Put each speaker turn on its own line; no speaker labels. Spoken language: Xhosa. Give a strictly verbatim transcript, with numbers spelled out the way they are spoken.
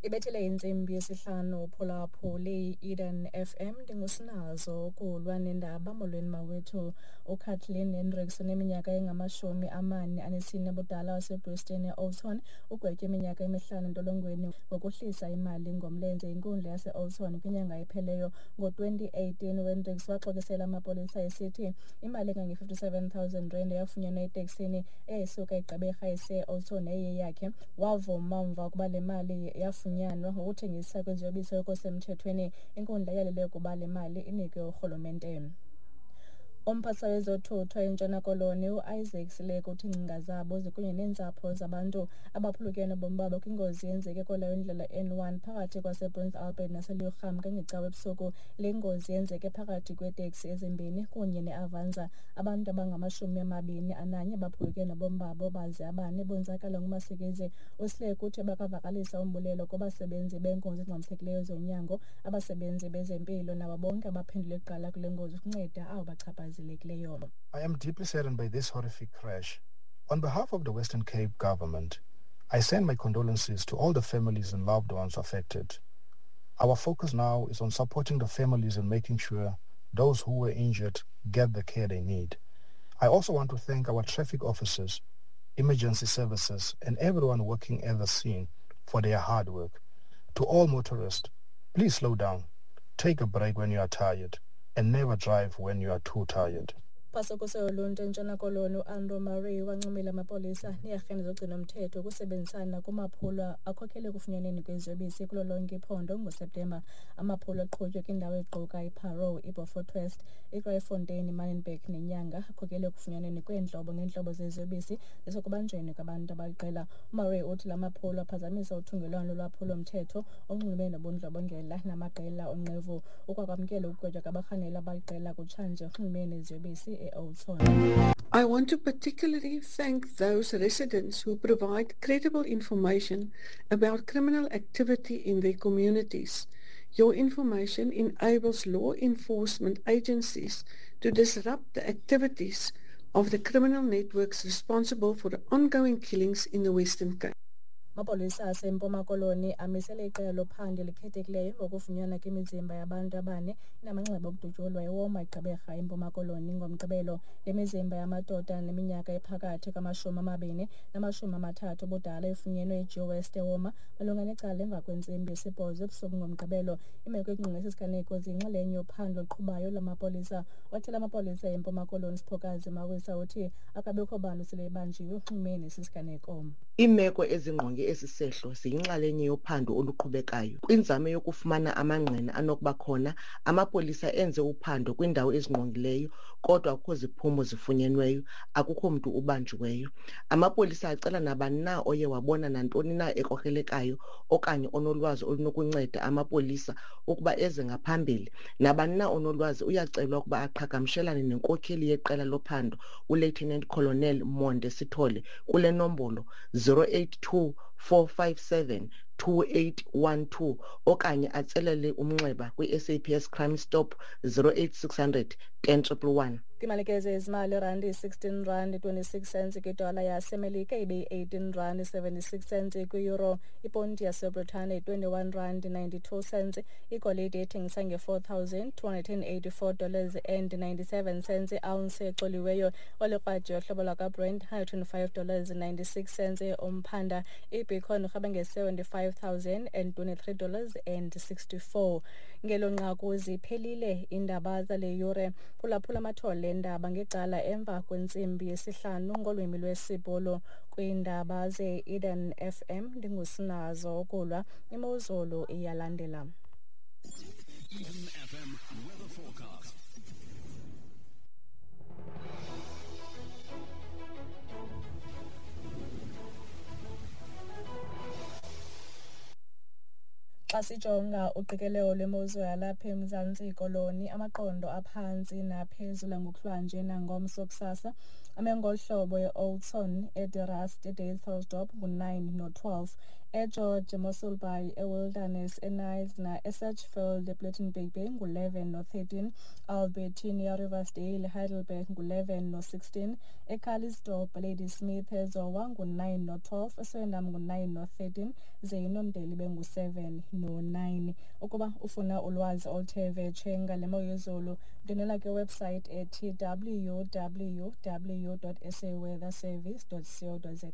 Ibethele intsimbi yesihlanu phulaphuli Eden F M ndingusinazo ukulwa nendaba. Molweni mawethu. uKathleen Hendricks oneminyaka engamashumi amane anesine budala waseBrisbane e-Oudtshoorn ugwetywe iminyaka emihlanu entolongweni ngokuhlisa imali ngomlenze inkundla yase-Oudtshoorn kwinyanga epheleyo. Ngo-twenty eighteen uHendricks waxokisela amapolisa esithi imali engange-fifty-seven thousand rand eyafunyanwa eteksini eyayisuka eGqeberha ese-Oudtshoorn yayiyeyakhe. Wavuma mva ukuba le mali yafunyanwa ngokuthengisa kwiziyobisi okusemthethweni. Inkundla yalele ukuba le mali inikwe urhulumente. Umphathiswa wezothutho eNtshona Koloni uIsaac Sileku uthi iingcinga zabo zikunye neentsapho zabantu abaphulukene nobomi babo kwingozi eyenzeke kwelayo indlela N one phakathi kwasePrince Albert naseLuurham ngeCawa ebusuku. Le ngozi yenzeke phakathi kweeteksi ezimbini kunye neAvanza. Abantu abangamashumi amabini ananye baphulukene nobomi babo baze abane bonzakala ngumasikizi. USileku uthi bakavakalisa umbulelo kubasebenzi beenkonzo ezingxamisekileyo zonyango, abasebenzi bezempilo nabo bonke abaphendule kuqala kule ngozi ukunceda abo bachaphazelekayo.
I am deeply saddened by this horrific crash. On behalf of the Western Cape government, I send my condolences to all the families and loved ones affected. Our focus now is on supporting the families and making sure those who were injured get the care they need. I also want to thank our traffic officers, emergency services, and everyone working at the scene for their hard work. To all motorists, please slow down, take a break when you are tired, and never drive when you are too tired.
Phasokuse yoluntu eNtshona Koloni uAndrew Murray wancomile amapolisa neerhente zogcino-mthetho ukusebenzisana kumaphulo akhokhele ekufunyanweni kweziyobisi kulo lonke iphondo ngoSeptemba. Amaphulo aqhutywe kwindawo equka iParow, iBeaufort West, iKraaifontein, iManenberg neNyanga akhokhele ekufunyanweni kweentlobo ngeentlobo zeziyobisi nasekubanjweni kwabantu abaliqela. UMurray uthi la maphulo aphazamisa uthungelwano lolwaphulo-mthetho olunxulumene nobundlobongela namaqela onqevu. Ukwakwamkela ukugwetywa kwabarhanelwa abaliqela kutshanje okunxulumene neziyobisi e-Oudtshoorn.
I want to particularly thank those residents who provide credible information about criminal activity in their communities. Your information enables law enforcement agencies to disrupt the activities of the criminal networks responsible for the ongoing killings in the Western Cape.
Amapolisa aseMpuma Koloni amisele iqela lophando elikhethekileyo ngokufunyanwa kwemizimba yabantu abane inamanxeba okudutyulwa eWoma eGqeberha eMpuma Koloni ngoMgqibelo. Le mizimba yamadoda neminyaka ephakathi kwamashumi amabini namashumi amathathu ubudala ifunyenwe eGeo West eWoma malunga necala emva kwentsimbi yesibhozo ebusuku ngoMgqibelo. Imeko engqinqe esi siganeko ziyinxalenye yophando oluqhubayo lwamapolisa. Wathela amapolisa eMpuma Koloni Siphokazi Mawisa uthi akabikho bantu sele ebanjiwe unxulumene nesi siganeko.
Iimeko ezingqonge esi sehlo ziyinxalenye yophando oluqhubekayo. Kwinzame yokufumana amangqina anokuba khona, amapolisa enze uphando kwiindawo ezingqongileyo, kodwa akukho ziphumo zifunyenweyo, akukho mntu ubanjiweyo. Amapolisa acela nabani na oye wabona nantoni na ekrokrelekayo okanye onolwazi olunokunceda amapolisa ukuba eze ngaphambili. Nabani na onolwazi uyacelwa ukuba aqhagamshelane nenkokheli yeqela lophando uLieutenant Colonel Monde Sithole kule nombolo zero eight two four five seven two eight one two okanye atselele umnxeba kwi-S A P S Crime Stop zero eight six hundred ten triple one.
Kwimalikezo yezimali, irandi sixteen rand twenty-six cents kwidola yaseMelika ibe yi-eighteen rand seventy-six cents kwi-euro. Iponti yaseBritane twenty-one rand ninety-two cents. Igolide ethengisa nge-four thousand two hundred and eighty-four dollars and ninety-seven cents i-ounce exoliweyo. Olikrwaji yohlobo lwakwaBrent hundred and five dollars ninety-six cents umphanda. Ibitcoin irhabe nge-seventy-five thousand and twenty-three dollars and sixty-four. Ngelo nqaku ziphelile iindaba zale yure. Phulaphula amathole endaba ngecala emva kwentsimbi yesihlanu ngolwimi lwesiBhulu. Kwiindaba ze-Eden F M ndingusinazo ukulwa. Imozulu iyalandela.
Eden F M weather forecast.
Xa sijonga uqikelelo lwemozulu yalapha eMzantsi Koloni, amaqondo aphantsi naphezulu ngokuhlwanje nangomso kusasa Ame ngolu hlobo e-Oudtshoorn, eDe Rust, eDysselsdorp ngu-nine no-twelve, eGeorge, eMossel Bay, eWilderness, eKnysna, eSedgefield, ePlettenberg Bay ngu-eleven no-thirteen, Albertina, Riversdale, Heidelberg ngu-eleven no-sixteen, eCalitzdorp, Ladysmith, eZowa ngu-nine no-twelve, eSwellendam ngu-nine no-thirteen, ze iNondeli ibe ngu-seven no-nine. Ukuba ufuna ulwazi oluthe vetshe ngale mo yezulu, ndwendwela kwiwebsite ethi w w w dot s a weather service dot co dot za.